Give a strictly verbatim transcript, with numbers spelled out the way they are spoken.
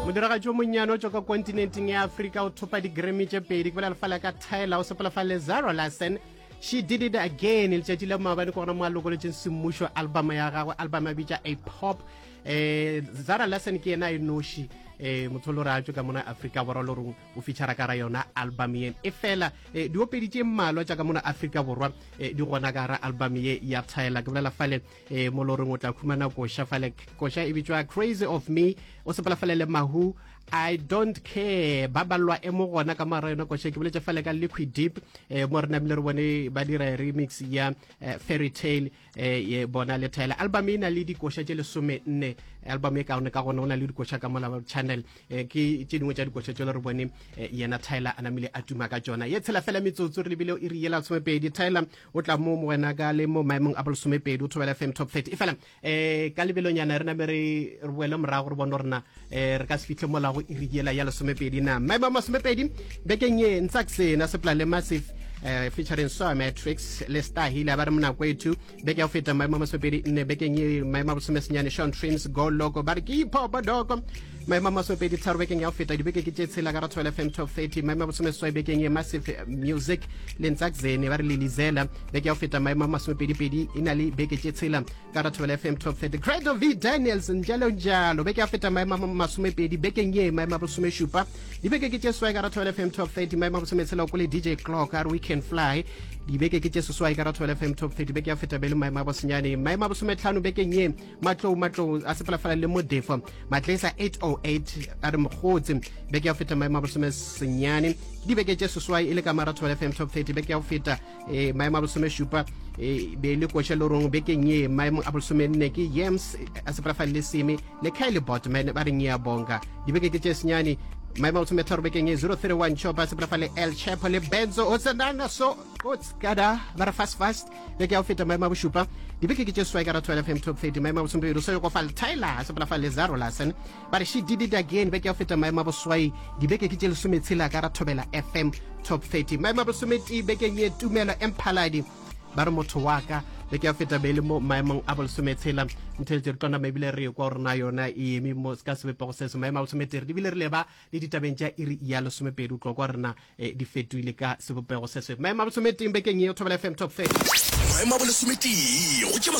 Modiragatši o monnyane o tšwa ka kontinenteng ya Afrika o thopa di-Grammy tše pedi. Ke bolela fale ka Tyla, o sepela fa le Zara Larsson. She Did It Again. Letšatši la maabane ke gona mo a lokolotšeng semmušo album ya gagwe, album ya bitša A Pop. eh Zara Larsson ke yena e noši eh motho le gore a tšwe ka mona Afrika Borwa le gore o feature ka ra yona album ye. E fela eh, diopedi tše mmalwa tša ka mona Afrika Borwa eh, di gona ka ra album ye ya Tyla. Ke bolela fale eh, mo le goreng o tla khumana koša fale, koša e bitšwa Crazy of Me, o sepela fale le Mahu, I Don't Care, ba balwa e mo gona ka mara yona koša. Ke boletše fale ka Liquid Deep, eh, mo re namile re bone ba dira remix ya eh, Fairy Tale, eh, ye bona le Tyla. Album e na le dikoša tše lesome nne. Album e kaone ka gona o na le dikoša ka mola channel, eh, ke tše dingwe tša dikoša tše le re bone eh, yena Tyla a namile a tuma ka tšona. Ye tshela fela metsotso re lebile iri yela lesomepedi. Tyla o tla mo wena ka le mo maemong a bolesomepedi o Thobela F M Top thirty. E fela eh ka lebelonyana re name re re boele morago re bone gore na eh re ka se fitlhe molago iri yela ya lesomepedi na. Maemo a masomepedi bekeng ye, Ntsaksena sepela le Massive, eh featuring Soa Matrix le Star Hill, ba re monako ethu. Beke ya go feta maemo a masomepedi nne, bekeng ye maemo a bosomesenyane, Sean Trims, Go Loco, ba re ke hip hop doko. Maemo a masomepedi tharo bekeng ya go feta, dibeke ke tše tshela ka ra Thobela F M Top thirty. Maemo a bosomeseswai bekeng ye, Massive Music le Ntsakzene, ba re Lelizela. Beke ya go feta maemo a masomepedi pedi, e na le beke tše tshela ka ra Thobela F M Top thirty. Credo V Daniels, Njalo Njalo, beke ya go feta maemo a masomepedi, bekeng ye maemo a bosomešupa, dibeke ke tše seswai ka ra Thobela F M Top thirty. Maemo a bosometshela ko le D J Clock, a re We Can Fly, dibeke ke tše seswai ka ra Thobela F M Top thirty. Beke ya go feta be le maemo a bosenyane. Maemo a bosometlhano bekeng ye, Matlou Matlou a sepela fela le Modefo Matlesa eight oh eight, a re Mokgotsi. Beke ya go feta maemo a bosomesenyane, dibeke tše seswai e le ka mara Thobela F M Top thirty. Beke ya go feta eh, maemo a bosomešupa eh, be le koša le rong. Bekeng ye maemo a bolesomenne ke Yams a sepela fela le Seme le Kylie Botman, ba re Ngiyabonga, dibeke ke tše senyane. Maemo a bosometharo bekeng ye, zero three one Chopa a sepela fa le El Chapo le Benzo o tsenana so otskada, ba re Fast Fast. Beke ya go feta maemo a bošupa, dibeke ke tše seswai ka ra Thobela F M Top thirty. Maemo a bosomepedi o sa go fa Tyla a sepela fa le Zara Larsson, ba re She Did It Again. Beke ya go feta maemo a boswai, dibeke ke tše lesometshela ka ra Thobela F M Top thirty. Maemo a bosometee bekeng ye, Tumelo Emphaladi, ba re Motho wa Ka. Beke ya go feta be le mo maemong a bolesometshela. Ntheletše re tlona ebile re kwa gore na yona e eme mo ka sebopego se se maemo a bosometee, ebile re leba le ditabeng tša iri ya lesomepedi, o tlo kwa rena eh, di fetoile ka sebopego se se maemo a bosometeng bekeng ye. Thobela F M Top thirty. Maemo a bolesometee go tše